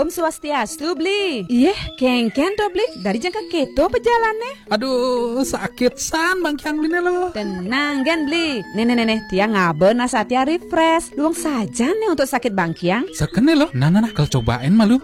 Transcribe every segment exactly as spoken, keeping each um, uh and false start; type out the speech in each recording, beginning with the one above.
Om Swastiastu, Bli. Iyeh, kéngkén to, Bli? Dadi jang ka kéto pejalane? Aduh, sakit san bangkiang Bliné lo. Tenang gén, Bli. Né, né, né, né, tiang ngaba Nasatya Refresh. Luung sajan né untuk sakit bangkiang. Sakené lo. Nah, nah, nah, kal cobain malu.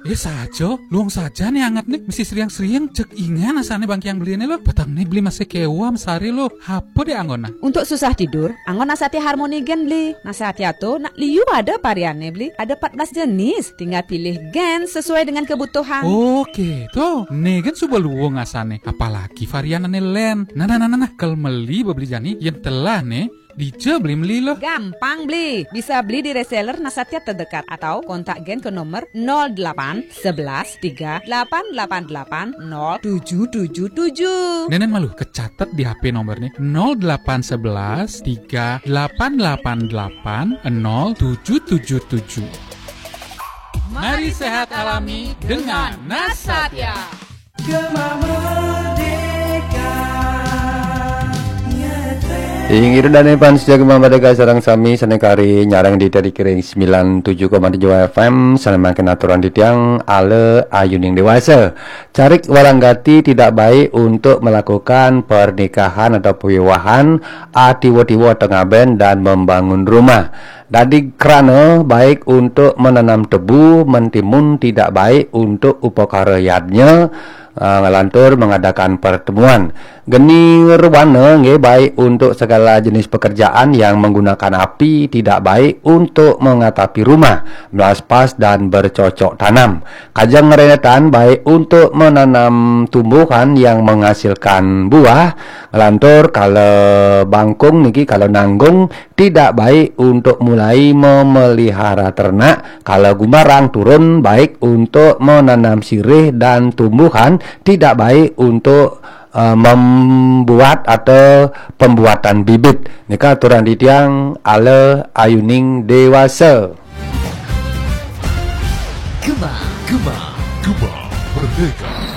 Eh, saja, luung sajan né anget né. Mesti sriang-sriang, jeg ingan asané bangkiang Bliné lo. Petengné Bli masih kéweh masari lo. Apa deh anggona? Untuk susah tidur, anggon Nasatya Harmony gén, Bli. Nasatya to nak liu ada varianné, Bli. Ada empat belas jenis. Tinggal pilih gén sesuai dengan kebutuhan. Oke, to. Né gén suba luung asané. Apalagi varian ané lén. Nah, nah, nah, nah, nah. Kal meli ba Bli jani, yén telah né, dija Bli meli lo. Gampang, Bli. Bisa beli di reseller Nasatya terdekat atau kontak gén ke nomor nol delapan sebelas tiga delapan delapan delapan nol tujuh tujuh tujuh. Nénén malu, kecatet di H P nomorné nol delapan sebelas tiga delapan delapan delapan nol tujuh tujuh tujuh. Mari sehat alami dengan Nasatya. Gema Merdeka. Inggih ida dané fans setia Gema Merdeka sareng sami sané kari nyarengin titiang ring sembilan tujuh koma tujuh F M, sané mangkin aturang titiang Ala Ayuning Déwasa. Carik walang gati tidak baik untuk melakukan pernikahan atau pewiwahan, atiwa-tiwa tengah ben dan membangun rumah. Dadi krana baik untuk menanam tebu, mentimun tidak baik untuk upakara yadnya, ah, ngelantur mengadakan pertemuan. Geni ruana nggih baik untuk segala jenis pekerjaan yang menggunakan api, tidak baik untuk mengatapi rumah, melaspas dan bercocok tanam. Kajeng rentetan baik untuk menanam tumbuhan yang menghasilkan buah, ngelantur kala bangkung niki kala nanggung, tidak baik untuk mulai memelihara ternak, kala gumbarang turun baik untuk menanam sirih dan tumbuhan, tidak baik untuk, eh, membuat atau pembuatan bibit. Nika aturang titiang Ala Ayuning Déwasa. Gema, Gema, Gema Merdeka.